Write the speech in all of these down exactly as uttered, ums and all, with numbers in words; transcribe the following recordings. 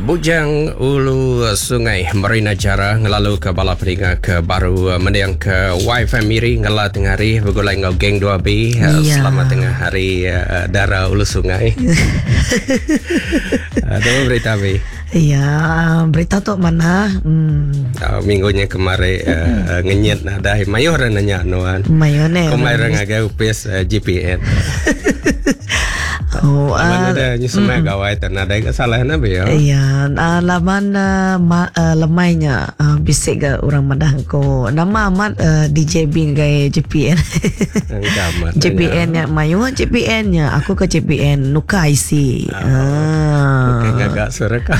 Bujang Ulu Sungai Marina Jara ngelalu ke bala peninga ke baru mending ke Y F M Miri ngela tengah hari begulai ngau geng dua B. Ya. Selamat tengah hari Dara Ulu Sungai. Ada berita B? Ya, berita tu mana? Hmm. Uh, minggunya kemarin uh, ngenyit nadai mayuh orang nanya nuan. Mayuh ne. Kemarin ngagai upis uh, G P N. Oh, uh, ada nyusun mm. gawai tak nadai ke salah na be ya. Iya, uh, laban uh, ma, uh, lemainya uh, bisik ke orang madah ko. Nama amat uh, D J B ngai G P N. G P N nya mayu G P N nya aku ke G P N nuka I C. Ah. Okey ngagak suara kau.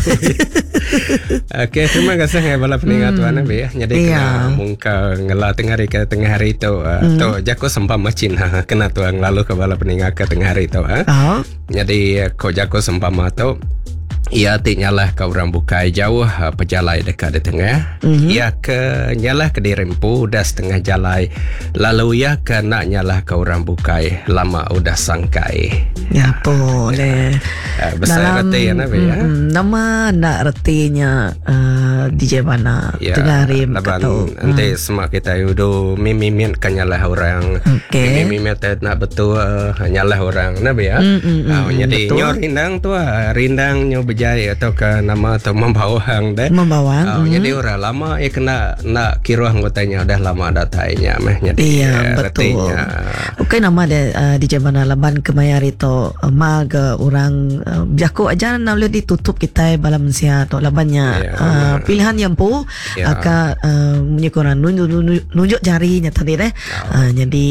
Okey, terima kasih ngai bala peningat hmm. tuan be ya. Jadi kena mungka ngela tengah hari ke tengah hari tu uh, hmm. tu jako sempama Cina kena tuang lalu ke bala peningat ke tengah hari tu ha. Oh. Jadi ko jako sempama tu ia ti nyalah ke orang bukai jauh pejalai dekat di tengah. Mm-hmm. Ia ke nyalah ke diri empu dah setengah jalai. Lalu ia ke nak nyalah ke orang bukai lama udah sangkai. Ya boleh. Ya, besar reti ya nabi ya. Mm, nama nak retinya uh, D J mana ya, tengah hari kata. Nanti mm. semak kita udah mimimit kan nyalah orang. Okay. Mimimit nak betul uh, nyalah orang nabi ya. Mm, mm, mm, uh, jadi betul. Nyo rindang tu rindang nyo berjaya atau ke nama atau membawang deh. Membawang. Uh, mm. Jadi orang lama ya kena nak kira anggotanya udah lama datainya meh. Jadi iya, betul. Retinya. Okey nama dia uh, D J mana laban kemayar itu uh, mag uh, orang uh, jako aja nak boleh ditutup kita bala mensia atau labannya ya, uh, pilihan yang pu ya. Aka uh, menyukuran nunjuk, nunjuk, nunjuk jarinya tadi deh. Ya. Uh, jadi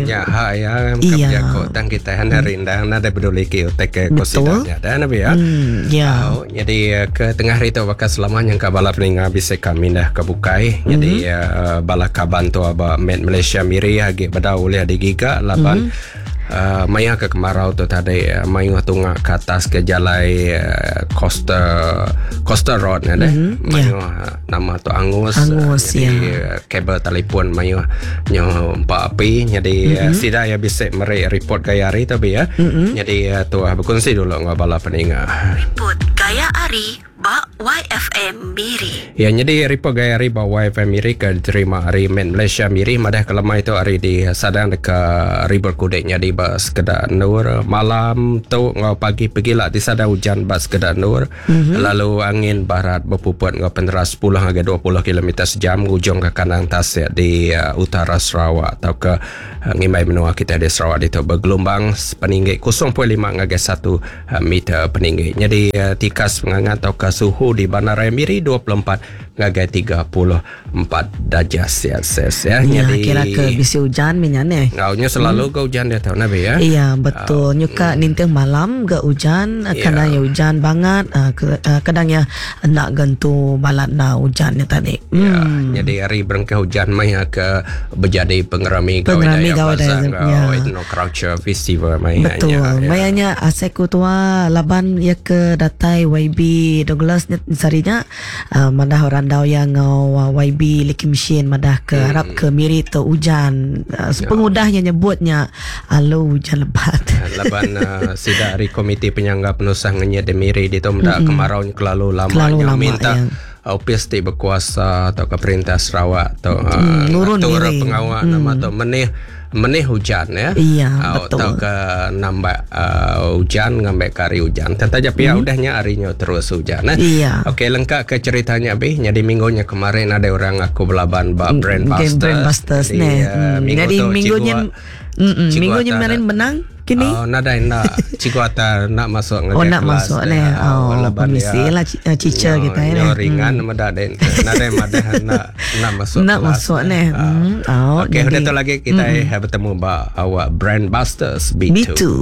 ya ha ya iya. Jako tang kita han rindang nada peduli ki utek ke kosidanya dan nabi ya. Hmm, ya. Oh, jadi ke tengah hari tu bakal selamanya ke bala peninga bisa kami dah ke bukai. Mm-hmm. Jadi uh, bala kaban tu aba Med Malaysia Miri agi beda oleh digiga laban mm-hmm. Uh, maya ke kemarau tu tadi uh, mayu tunga ke atas ke jalai uh, Coastal Coastal Road ne deh. Mm-hmm. Mayu yeah. nama tu Angus, Angus uh, jadi yeah. kabel telefon mayu nyo empat api jadi mm-hmm. uh, sida ya bisa meri report gaya hari tu be ya. Mm-hmm. Jadi uh, tu uh, berkongsi dulu ngau bala peninga. Report gaya hari ba Y F M Miri. Ya, jadi report gaya hari ba Y F M Miri ke diterima hari Med Malaysia Miri madah kelemah itu hari di sadang dekat River Kudek jadi ba sekedar nur malam tu ngau pagi pergilah di sadang hujan ba sekedar nur mm-hmm. Lalu angin barat berpuput ngau peneras sepuluh hingga dua puluh kilometer sejam ujung ke kanan tasik di uh, utara Sarawak atau ke uh, ngimbai menua kita di Sarawak itu bergelombang peninggi kosong perpuluhan lima hingga satu uh, meter peninggi. Jadi uh, tikas pengangat atau ke suhu di Bandaraya Miri dua puluh empat hingga tiga puluh empat darjah Celsius ya. Ya, Jadi kira ke bisi hujan minyane. Ngaunya selalu hmm. ke hujan dia tahu nabi ya. Iya, betul. Uh, Nyuka mm. ninting malam ke hujan, ya. Kadang ya hujan banget, kadang ya nak gentu balat na hujannya tadi. Ya, hmm. jadi hari berengkah hujan maya ke berjadi pengerami pengerami gawai daya ya. Ethno Culture Festival maya. Betul. Ya. Mayanya aseku tua laban ya ke datai Y B Douglas sarinya uh, madah orang dau yang ngau uh, Y B Likim Shin madah ke hmm. harap ke Miri tu hujan uh, sepengudahnya nyebutnya alu hujan lebat. Laban uh, sida hari komiti penyangga penusah ngenyet di Miri di tu mendak Mm-mm. kemarau kelalu lama Kelalu lama minta ya. Opis ti berkuasa atau ke perintah Sarawak atau mm, nurun atur Miri. Pengawal mm. nama tu menih menih hujan ya. Iya, uh, betul. Atau ke nambah uh, hujan ngambil kari hujan. Tentu aja pihak mm. udahnya harinya terus hujan. Nah. Iya. Okey, lengkap ke ceritanya be. Jadi minggunya kemarin ada orang aku belaban ba Brand Busters. Brand Busters Jadi, ne. uh, Hmm. minggu Jadi tu minggunya cikgu, mm minggunya kemarin menang kini. Oh, nadai nak cikgu ata nak masuk Oh, ngagai nak kelas masuk dia. ne. Oh, laban permisi dia lah ci- teacher nyo, kita ya. nyo ringan hmm. nadai nadai madah nak nak masuk Nak kelas. masuk ne. Ah. Hmm. Oh, Okey, jadi udah tu lagi kita hmm. bertemu ba awak Brand Busters B two. B two.